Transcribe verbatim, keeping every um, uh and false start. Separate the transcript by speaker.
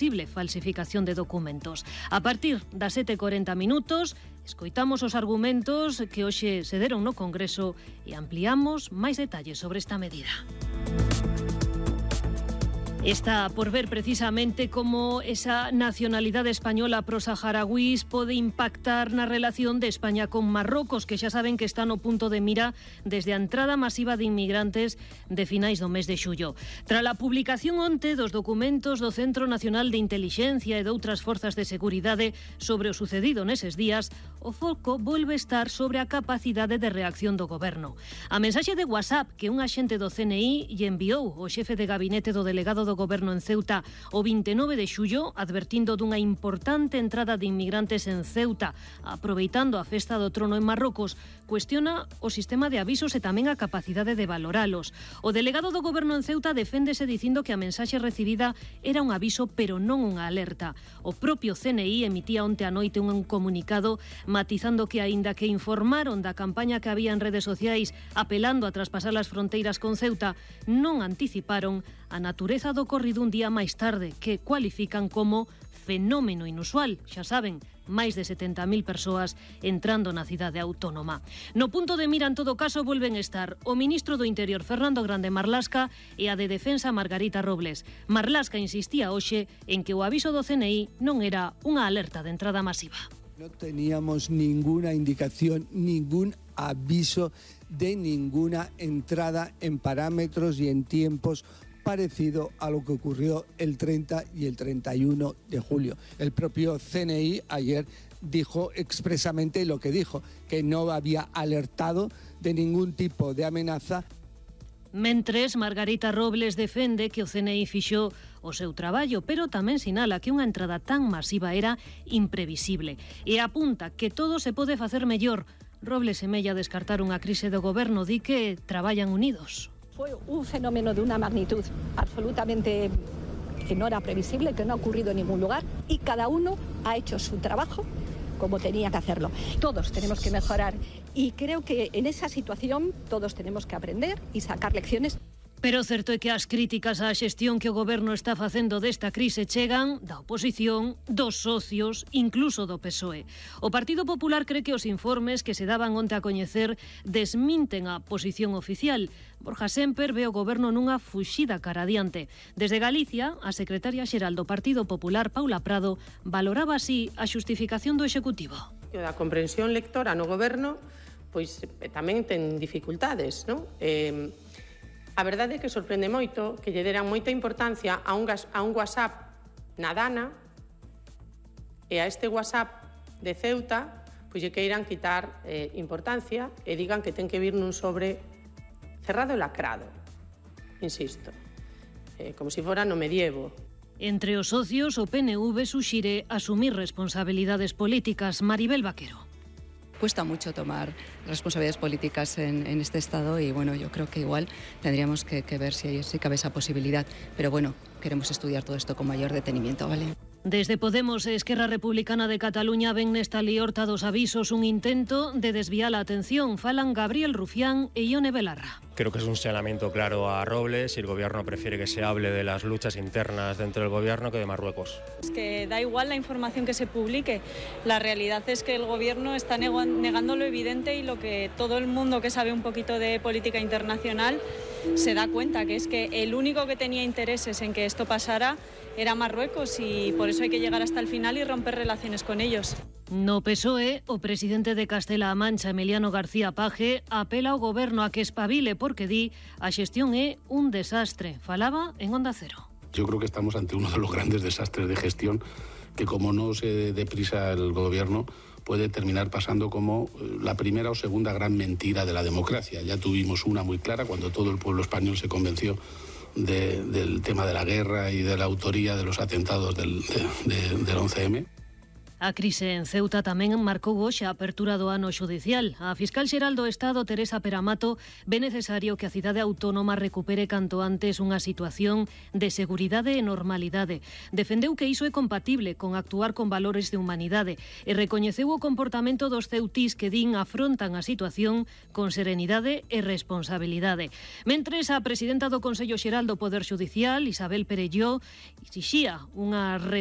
Speaker 1: posible falsificación de documentos. A partir das sete e corenta minutos, escoitamos os argumentos que hoxe se deron no Congreso e ampliamos máis detalles sobre esta medida. Está por ver precisamente como esa nacionalidade española prosaharauís pode impactar na relación de España con Marrocos, que xa saben que está no punto de mira desde a entrada masiva de inmigrantes de finais do mes de xullo. Tras a publicación onte dos documentos do Centro Nacional de Intelixencia e de outras forzas de seguridade sobre o sucedido neses días, o foco volve estar sobre a capacidade de reacción do goberno. A mensaxe de WhatsApp que un axente do C N I lle enviou o xefe de gabinete do delegado do do goberno en Ceuta o vinte e nove de xullo, advertindo dunha importante entrada de inmigrantes en Ceuta, aproveitando a festa do trono en Marrocos, cuestiona o sistema de avisos e tamén a capacidade de valoralos. O delegado do goberno en Ceuta deféndese dicindo que a mensaxe recibida era un aviso pero non unha alerta. O propio C N I emitía onte a noite un comunicado matizando que aínda que informaron da campaña que había en redes sociais apelando a traspasar as fronteiras con Ceuta, non anticiparon a natureza do ocorrido un día máis tarde, que cualifican como fenómeno inusual. Xa saben, máis de setenta mil persoas entrando na cidade autónoma. No punto de mira, en todo caso, volven estar o ministro do Interior, Fernando Grande Marlaska, e a de Defensa, Margarita Robles. Marlaska insistía hoxe en que o aviso do C N I non era unha alerta de entrada masiva.
Speaker 2: No teníamos ninguna indicación, ningún aviso de ninguna entrada en parámetros y en tiempos parecido a lo que ocurrió el treinta y el treinta y uno de julio. El propio C N I ayer dijo expresamente lo que dijo, que no había alertado de ningún tipo de amenaza.
Speaker 1: Mentres, Margarita Robles defende que o C N I fixo o seu traballo, pero tamén sinala que unha entrada tan masiva era imprevisible e apunta que todo se pode facer mellor. Robles semella descartar unha crise do goberno, di que traballan unidos.
Speaker 3: Fue un fenómeno de una magnitud absolutamente que no era previsible, que no ha ocurrido en ningún lugar y cada uno ha hecho su trabajo como tenía que hacerlo. Todos tenemos que mejorar y creo que en esa situación todos tenemos que aprender y sacar lecciones.
Speaker 1: Pero certo é que as críticas á xestión que o goberno está facendo desta crise chegan da oposición, dos socios, incluso do P S O E. O Partido Popular cree que os informes que se daban onte a coñecer desminten a posición oficial. Borja Sémper ve o goberno nunha fuxida cara adiante. Desde Galicia, a secretaria xeral do Partido Popular, Paula Prado, valoraba así a xustificación do Executivo.
Speaker 4: A comprensión lectora no goberno pois tamén ten dificultades, non? Eh, A verdade é que sorprende moito que lle deran moita importancia a un, gas, a un WhatsApp na Dana e a este WhatsApp de Ceuta pois lle queiran quitar eh, importancia e digan que ten que vir nun sobre cerrado e lacrado. Insisto, eh, como se fora no medievo.
Speaker 1: Entre os socios, o P N V suxire asumir responsabilidades políticas. Maribel Vaquero.
Speaker 5: Cuesta mucho tomar responsabilidades políticas en, en este estado y bueno, yo creo que igual tendríamos que, que ver si, si cabe esa posibilidad. Pero bueno, queremos estudiar todo esto con mayor detenimiento, ¿vale?
Speaker 1: Desde Podemos e Esquerra Republicana de Cataluña ven nesta liorta dos avisos un intento de desviar a atención. Falan Gabriel Rufián e Ione Belarra.
Speaker 6: Creo que es un señalamiento claro a Robles y el gobierno prefiere que se hable de las luchas internas dentro del gobierno que de Marruecos.
Speaker 7: Es que da igual la información que se publique. La realidad es que el gobierno está negando lo evidente y lo que todo el mundo que sabe un poquito de política internacional se da cuenta, que es que el único que tenía intereses en que esto pasara era Marruecos y por eso hay que llegar hasta el final y romper relaciones con ellos.
Speaker 1: No P S O E, o presidente de Castela-A Mancha, Emiliano García Paje, apela ao goberno a que espabile porque di a xestión é un desastre. Falaba en Onda Cero.
Speaker 8: Yo creo que estamos ante uno de los grandes desastres de gestión que, como no se dé prisa el gobierno, puede terminar pasando como la primera o segunda gran mentira de la democracia. Ya tuvimos una muy clara cuando todo el pueblo español se convenció de, del tema de la guerra y de la autoría de los atentados del, de, de, del once eme.
Speaker 1: A crise en Ceuta tamén marcou hoxe a apertura do ano xudicial. A fiscal xeral do Estado, Teresa Peramato, ve necesario que a cidade autónoma recupere canto antes unha situación de seguridade e normalidade. Defendeu que iso é compatible con actuar con valores de humanidade e recoñeceu o comportamento dos ceutís que din afrontan a situación con serenidade e responsabilidade. Mentres, a presidenta do Consello Xeral do Poder Xudicial, Isabel Perelló, exixía unha